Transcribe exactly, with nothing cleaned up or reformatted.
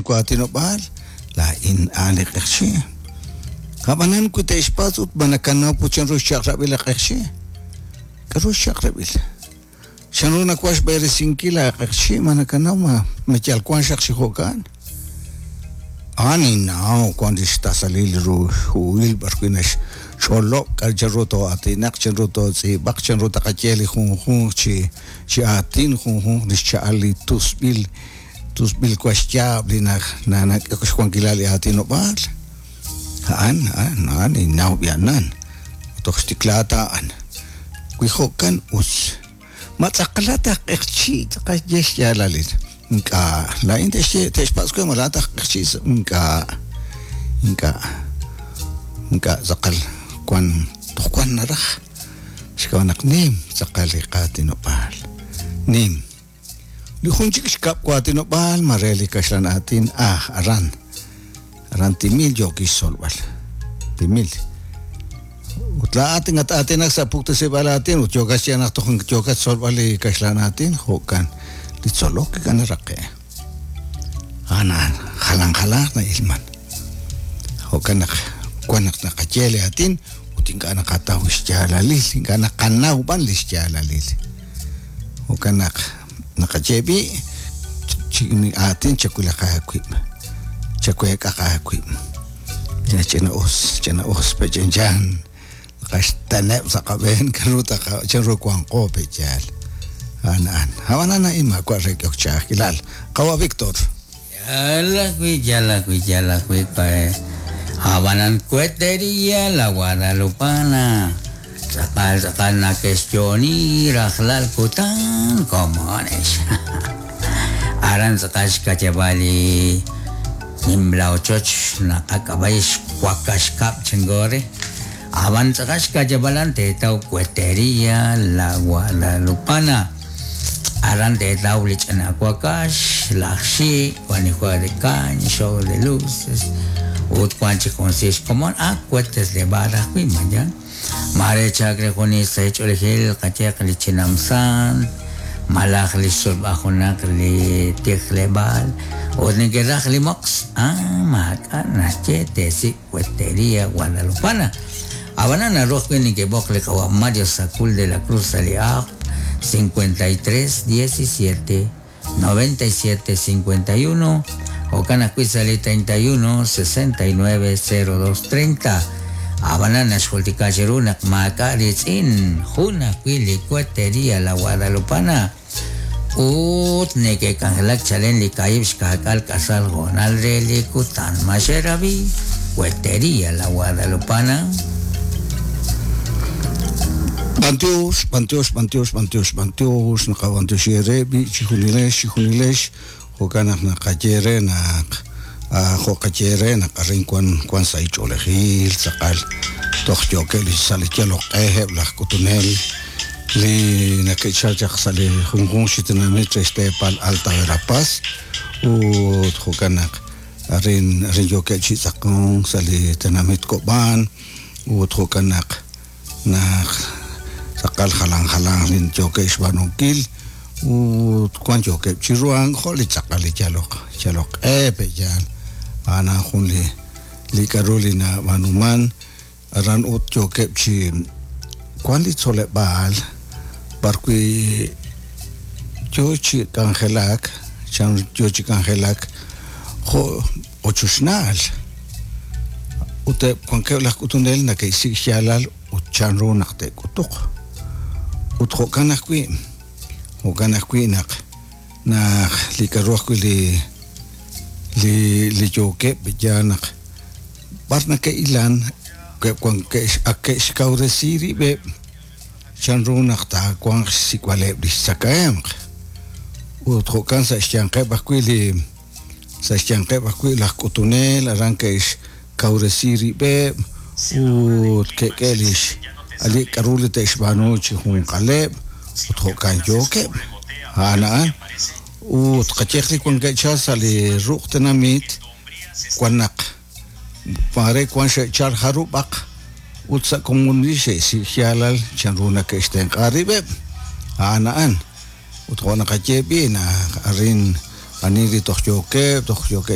waatinob'aal, laa'in a'an li q'eqchi'. Ab'anan wi te'xpatz' ut ma nakanaw put chanru xchaq'rab'il li q'eqchi'? K'aru xchaq'rab'il? Chanru nawank xb'eresinkil aaq'eqchi' ma nakanaw ma ma yal wank xaq chi jo'kan? A'an ninnaw wank li xtasalil ru huhil b'arwi' naxch'olob' k'a' chanru too'aatinaq, chanru tootz'iib'aq, chanru taqaye li junjunq chi chi aatin, junjunq li xcha'al li tusb'il tusb'il waxyaab' li nak'ehok xwankilal li aatinob'aal. A'an, a'an, a'an ninnaw b'i'anan. Toj xtiklaak ta a'an. Wi jo'kan us. Ma tz'aqalat aj q'eqchi' tz'aqal ye xyaalalil. Ink'a', laa'in te'xye te'xpatz' we ma laa'at aj q'eqchi' ink'a', ink'a', ink'a' tz'aqal wan toj wan naraj. Xk'ab'a' naq nim tz'aqal li qaatinob'aal. Nim. Li jun chik xkab' waatinob'aal ma re li kaxlan aatin ah aran. Aran timil yookil xtzolb'al. Timil. Ut laa'at ngat-aatinak sa' puktasib'aal aatin ut yookat xye naq toj yookat xtzolb'al li kaxlan aatin jo'kan li tzolok ink'a' naraqe'. A'an a'an jalan jalanq na'ilman. Jo'kan naq wan naq naqaye li aatin ut ink'a' naqataw xyaalalil, ink'a' naqanaw b'an li xyaalalil. Jo'kan naq naqaye b'i' chi aatin chawilaq aawib', chaweek'aq aawib'. Ch'ina us, ch'ina us pech'enchan naqaxteneb' sa' qab'een k'aru taqa chanru wanqo pe'yaal. A'an a'an. Ab'anan a'in maawa' re k'ehok ch'a'ajkilal. Qawa' Víctor. Yal ajwi', yal ajwi', yal ajwi' pa Abanan Cuetería La Guadalupana. Tz'aqal tz'aqal nake'xyooni rajlal kutan komonex. Aran tz'aqal xkacheb'al li nimla ochoch naqak'ab'a'i xwakaxkab' chingore. Aban tz'aqal xkacheb'alan teetaw Cuetería La Guadalupana. Aran teetaw li ch'ina wakax, laj xik, wan li juego de caña, show de luces, ut wan chik jun si xkomon, ah, cohetes de barra ajwi' mayan. Mare chakre jun sa ch'oolejil qayeq li chinamsan, malaj li xsulb'a junaq li tijleb'aal, ut neke'raj li moqs, ah, maak'a' naxye teesik' Cuetería Guadalupana. Abanan naru ajwi' neke'b'oq li qawa' Mario Sacul de la Cruz sa' li aaq cincuenta y tres diecisiete noventa y siete cincuenta y uno jo'kan ajwi' sa' li treinta y uno sesenta y nueve cero dos treinta. Abanan naxjultika chiru naq maak'a' ritz'in jun ajwi' li Cuetería La Guadalupana. Ut neke'k'anjelak chalen li kaahib' xka'k'aal k'asal jo'nal re li kutan maxerabi Cuetería La Guadalupana. B'antiox, b'antiox, b'antiox, b'antiox, b'antiox, naqab'antiox ere b'i chijunilex, chijunilex, jo'kan naq naqaye re naq, ah, jo'qaye re naq arin wan, wan sa' ich'oolejil, tz'aqal toj yookeb' li sa' li yaloq q'eheb' laj k'utunel li nake'chal chaq sa' li junjunq chi tenamit re xteepal Alta Verapaz, ut jo'kan naq arin, arin yookeb' chi tz'aqonk sa' li tenamit Kob'an, ut jo'kan naq naq tz'aqal jalan jalan li yookeb' xb'aanunkil, ut wan yookeb' chi ruhank jo' li tz'aqal li yaloq, yaloq q'e pe'yaal. A'an jun li, li k'aru li nab'aanuman aran ut yookeb' chi wan li tzoleb'aal b'arwi' yo chi k'anjelak, chan yo chi k'anjelak jo' ochochnaal. Ut eb' wankeb' laj k'utunel nake'xsik' xyaalal ut chanru naq te'k'utuq. Ut jo'kan ajwi', jo'kan ajwi' naq, naq li k'aru ajwi' li, li, li yookeb' ya naq b'ar nake'ilan, keb' wan ke'x-, ak ke'xkawresi rib'eb' chanru naq taawanq xsik'b'aleb' li xtzakahemq. Ut jo'kan sa' xyanqeb' ajwi' li, sa' xyanqeb' ajwi' laj k'utunel aran ke'xkawresi rib'eb' ut ke'k'e lix ali k'aru li te'xb'aanu chi junqaleb' ut jo'kan yookeb'. A'an a'an. Ut qayeq li wankeb' chal sa' li ruq' tenamit wan naq mare wan xe'chal jarub'aq ut sa' komonil xe'xsik' xyaalal chanru nake'xtenq'a rib'eb'. A'an a'an. Ut jo' naqaye b'i' naq arin ani li toj yookeb', toj yookeb'